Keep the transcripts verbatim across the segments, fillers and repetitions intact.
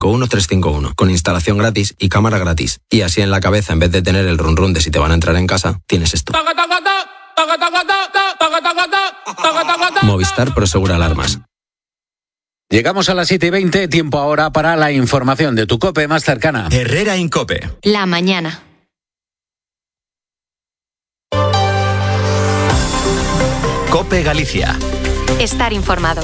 con uno tres cinco uno, con instalación gratis y cámara gratis. Y así en la cabeza, en vez de tener el run run de si te van a entrar en casa, tienes esto. Movistar Prosegura Alarmas. Llegamos a las siete y veinte, tiempo ahora para la información de tu COPE más cercana. Herrera Incope. La mañana. COPE Galicia. Estar informado.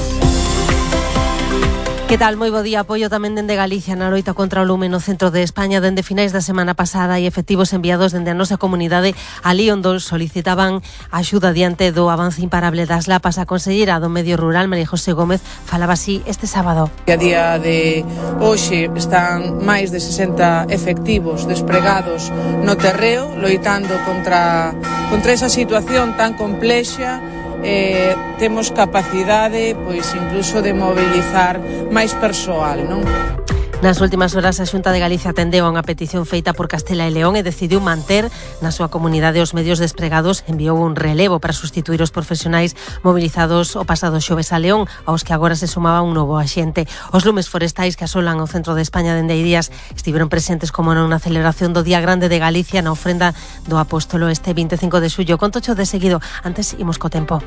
Que tal? Moi bo día. Apoio tamén dende Galicia na loita contra o lume no centro de España. Dende finais da semana pasada e efectivos enviados dende a nosa comunidade alí onde solicitaban axuda diante do avance imparable das lapas. A conselleira do Medio Rural, María José Gómez, falaba así este sábado. A día de hoxe están máis de sesenta efectivos despregados no terreo loitando contra, contra esa situación tan complexa. Eh, temos capacidade pois incluso de mobilizar máis persoal, non? Nas últimas horas a Xunta de Galicia atendeu a unha petición feita por Castela e León e decidiu manter na súa comunidade os medios despregados. Enviou un relevo para sustituir os profesionais mobilizados o pasado xoves a León, aos que agora se sumaba un novo axente. Os lumes forestais que asolan o centro de España dende hai días estiveron presentes como non na celebración do Día Grande de Galicia na ofrenda do Apóstolo este vinte e cinco de xullo. Contocho de seguido, antes imos co tempo.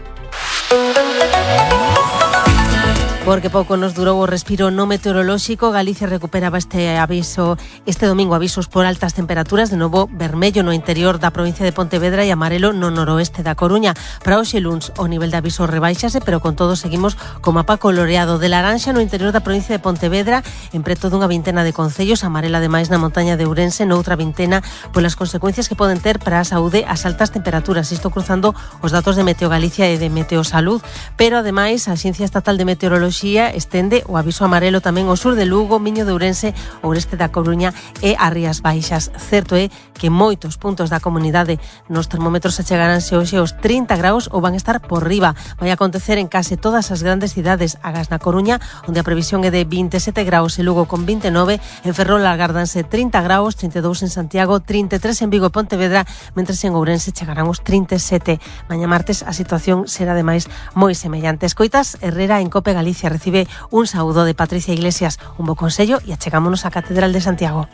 Porque pouco nos durou o respiro no meteorolóxico. Galicia recuperaba este aviso este domingo, avisos por altas temperaturas, de novo vermello no interior da provincia de Pontevedra e amarelo no noroeste da Coruña. Para hoxe luns o nivel de aviso rebaixase, pero con todo seguimos co mapa coloreado de laranxa no interior da provincia de Pontevedra, en preto dunha vintena de concellos, amarela ademais na montaña de Ourense, noutra vintena polas consecuencias que poden ter para a saúde as altas temperaturas. Isto cruzando os datos de Meteo Galicia e de Meteosalud, pero ademais a Axencia Estatal de Meteoroloxía estende o aviso amarelo tamén ao sur de Lugo, Miño de Ourense, oeste da Coruña e as Rías Baixas. Certo é que moitos puntos da comunidade nos termómetros achegaranse hoxe aos trinta graus ou van estar por riba. Vai acontecer en case todas as grandes cidades. Agás na Coruña, onde a previsión é de vinte e sete graus, e Lugo con vinte e nove, en Ferrol agárdanse trinta graus, trinta e dous en Santiago, trinta e tres en Vigo e Pontevedra, mentres en Ourense chegarán os trinta e sete. Mañá martes a situación será ademais moi semellante. Escoitas Herrera en COPE Galicia. Recibe un saúdo de Patricia Iglesias, un bo consello e achegámonos á Catedral de Santiago.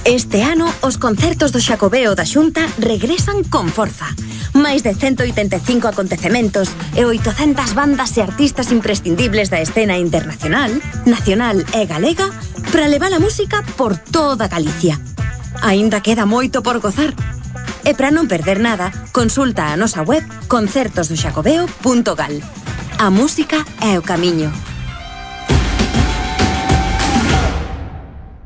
Este ano, os concertos do Xacobeo da Xunta regresan con forza. Máis de ciento oitenta e cinco acontecementos e oitocentas bandas e artistas imprescindibles da escena internacional, nacional e galega para levar a música por toda Galicia. Aínda queda moito por gozar. E para non perder nada, consulta a nosa web concertos do xacobeo punto gal. A música é o camiño.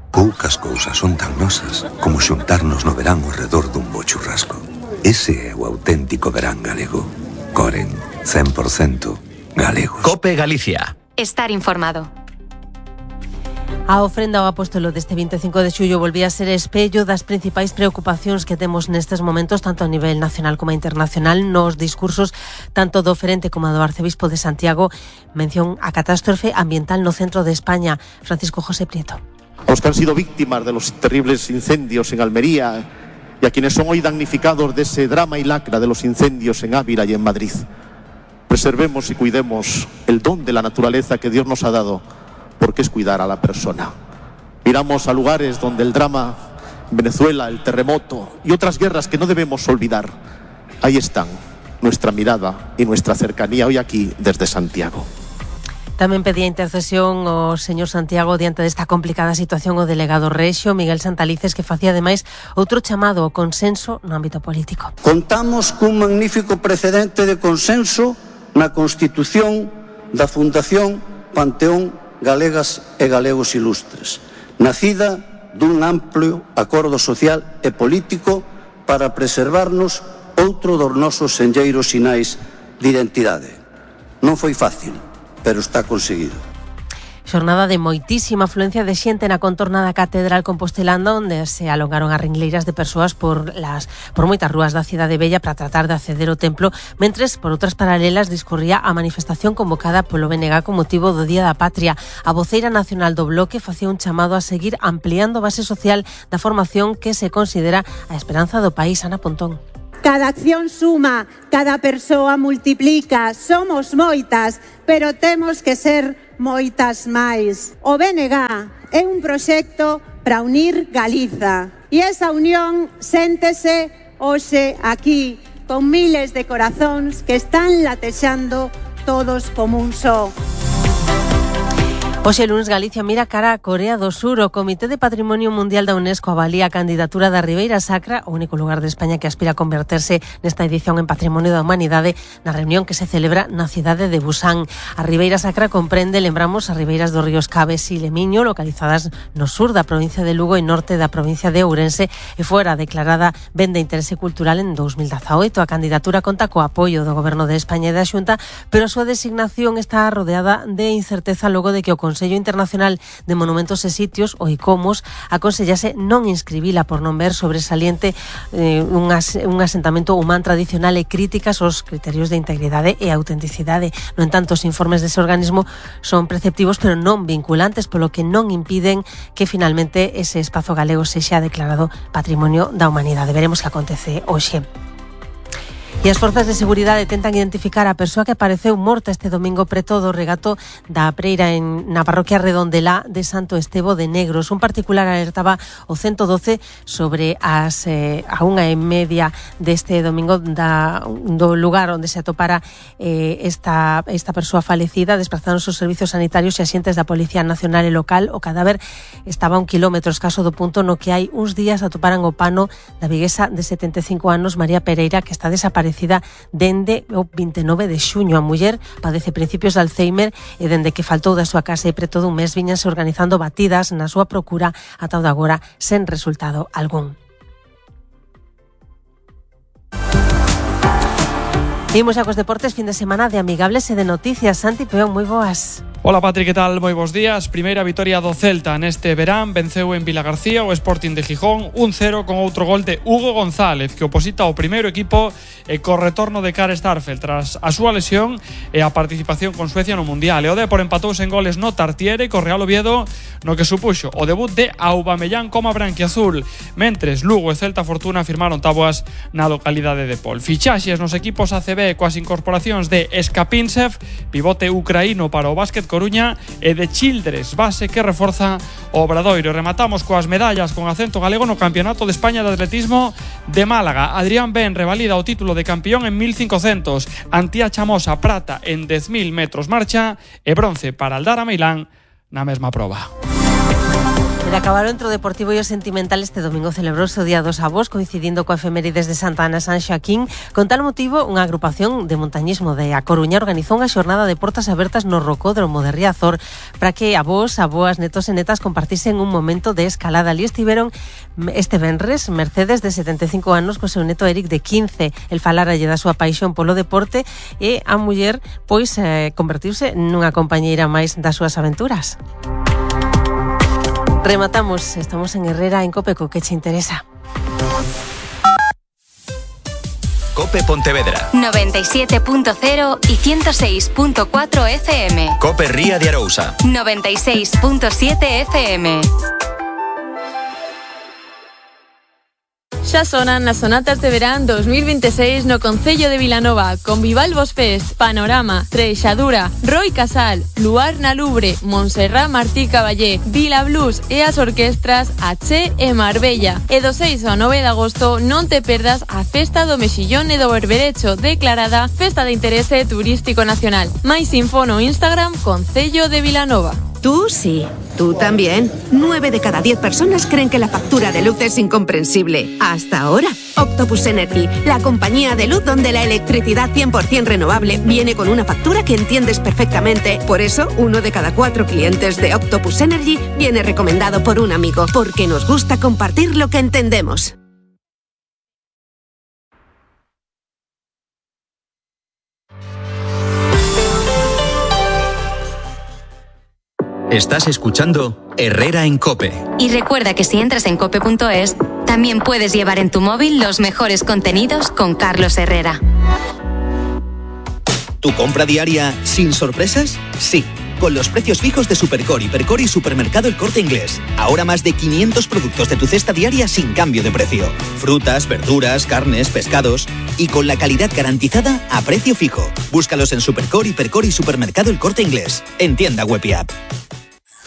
Poucas cousas son tan nosas como xuntarnos no verán ao redor dun bo churrasco. Ese é o auténtico verán galego. Coren, cen por cento galegos. COPE Galicia. Estar informado. A ofrenda ao Apóstolo deste vinte e cinco de xullo volvía a ser espello das principais preocupacións que temos nestes momentos, tanto a nivel nacional como internacional. Nos discursos tanto do oferente como do arcebispo de Santiago, mención a catástrofe ambiental no centro de España. Francisco José Prieto. Los que han sido víctimas de los terribles incendios en Almería y a quienes son hoy damnificados de ese drama y lacra de los incendios en Ávila y en Madrid. Preservemos y cuidemos el don de la naturaleza que Dios nos ha dado, porque es cuidar a la persona. Miramos a lugares donde el drama, Venezuela, el terremoto y otras guerras que no debemos olvidar. Ahí están nuestra mirada y nuestra cercanía hoy aquí desde Santiago. Tamén pedía intercesión o señor Santiago diante desta complicada situación o delegado rexio Miguel Santalices, que facía ademais outro chamado ao consenso no ámbito político. Contamos cun magnífico precedente de consenso na Constitución da Fundación Panteón Galegas e Galegos Ilustres, nacida dun amplio acordo social e político para preservarnos outro dos nosos senlleiros sinais de identidade. Non foi fácil, pero está conseguido. Xornada de moitísima afluencia de xente na contorna da Catedral compostelana, onde se alongaron as ringleiras de persoas por las por moitas rúas da cidade bella para tratar de acceder ao templo, mentres por outras paralelas discorría a manifestación convocada polo B N G con motivo do Día da Patria. A voceira nacional do Bloque facía un chamado a seguir ampliando a base social da formación que se considera a esperanza do país. Ana Pontón. Cada acción suma, cada persoa multiplica, somos moitas, pero temos que ser moitas máis. O B N G é un proxecto para unir Galiza e esa unión séntese hoxe aquí con miles de corazóns que están latexando todos como un só. Hoxe lunes Galicia mira cara a Corea do Sur. O Comité de Patrimonio Mundial da UNESCO avalía a candidatura da Ribeira Sacra, o único lugar de España que aspira a converterse nesta edición en Patrimonio da Humanidade, na reunión que se celebra na cidade de Busan. A Ribeira Sacra comprende, lembramos, as ribeiras dos ríos Caves e Lemiño, localizadas no sur da provincia de Lugo e norte da provincia de Ourense, e fora declarada ben de interese cultural en dous mil dezaoito. A candidatura conta co apoio do Goberno de España e da Xunta, pero a súa designación está rodeada de incerteza logo de que o Consello Internacional de Monumentos e Sitios, o ICOMOS, aconsellase non inscribila por non ver sobresaliente eh, un, as, un asentamento humán tradicional e críticas aos criterios de integridade e autenticidade. No entanto, os informes dese organismo son preceptivos pero non vinculantes, polo que non impiden que finalmente ese espazo galego sexa declarado Patrimonio da Humanidade. Veremos que acontece hoxe. E as forzas de seguridade tentan identificar a persoa que apareceu morta este domingo preto do regato da Preira en, na parroquia Redondelá de Santo Estevo de Negros. Un particular alertaba o ciento doce sobre as eh, a unha e media deste domingo da, do lugar onde se atopara eh, esta, esta persoa falecida. Desplazaron os servizos sanitarios e axentes da Policía Nacional e Local. O cadáver estaba a un kilómetro escaso do punto no que hai uns días atoparan o pano da viguesa de setenta e cinco anos María Pereira, que está desaparecida dende o vinte e nove de xuño. A muller padece principios de Alzheimer e dende que faltou da súa casa e preto dun mes viñanse organizando batidas na súa procura ata o de agora sen resultado algún. Imos a cos deportes, fin de semana de amigables e de noticias. Santi Peón, moi boas. Hola Patri, que tal? Moi bons días. Primeira vitoria do Celta neste verán. Venceu en Vilagarcía o Sporting de Gijón un cero con outro gol de Hugo González, que oposita ao primeiro equipo e co retorno de Karl Starfelt tras a súa lesión e a participación con Suecia no Mundial. E o Depor empatouse en goles no Tartiere co Real Oviedo, no que supuxo o debut de Aubameyang como branquiazul. Mentres Lugo e Celta Fortuna firmaron táboas na localidade de Pol. Fichaxes nos equipos A C B coas incorporacións de Skapinsev, pivote ucraíno para o básquet Coruña, e de Childress, base que reforza o Obradoiro. Rematamos coas medallas con acento galego no Campeonato de España de Atletismo de Málaga. Adrián Ben revalida o título de campeón en mil cincocentos. Antía Chamosa prata en dez mil metros marcha e bronce para Aldara Meilán na mesma proba. De acabar o entro deportivo e o sentimental, este domingo celebrouse o Día dos Avós, coincidindo coa efemérides de Santa Ana San Xoaquín. Con tal motivo, unha agrupación de montañismo de A Coruña organizou unha xornada de portas abertas no Rocódromo de Riazor para que avós, avoas, netos e netas compartisen un momento de escalada. Ali estiveron este venres Mercedes, de setenta e cinco anos, co seu neto Eric, de quince. El falaralle da súa paixón polo deporte e a muller, pois, eh, convertiuse nunha compañeira máis das súas aventuras. Rematamos, estamos en Herrera, en Cope, co que che interesa. Cope Pontevedra noventa y siete punto cero y ciento seis punto cuatro F M. Cope Ría de Arousa noventa y seis punto siete F M. Xa sonan as sonatas de verán dos mil veintiséis no Concello de Vilanova, con Vivalvos Fest, Panorama, Treixadura, Roy Casal, Luar na Lubre, Montserrat Martí Caballé, Vila Blues e as orquestras Aché e Marbella. E do seis ao nove de agosto non te perdas a Festa do Mexillón e do Berberecho, declarada Festa de Interese Turístico Nacional. Mais info no Instagram Concello de Vilanova. Tú sí, tú también. Nueve de cada diez personas creen que la factura de luz es incomprensible. Hasta ahora. Octopus Energy, la compañía de luz donde la electricidad cien por ciento renovable viene con una factura que entiendes perfectamente. Por eso, uno de cada cuatro clientes de Octopus Energy viene recomendado por un amigo, porque nos gusta compartir lo que entendemos. Estás escuchando Herrera en Cope. Y recuerda que si entras en cope punto es, también puedes llevar en tu móvil los mejores contenidos con Carlos Herrera. ¿Tu compra diaria sin sorpresas? Sí. con los precios fijos de Supercore, Hipercore y Supermercado El Corte Inglés. Ahora más de quinientos productos de tu cesta diaria sin cambio de precio. Frutas, verduras, carnes, pescados y con la calidad garantizada a precio fijo. Búscalos en Supercore, Hipercore y Supermercado El Corte Inglés. En tienda web y app.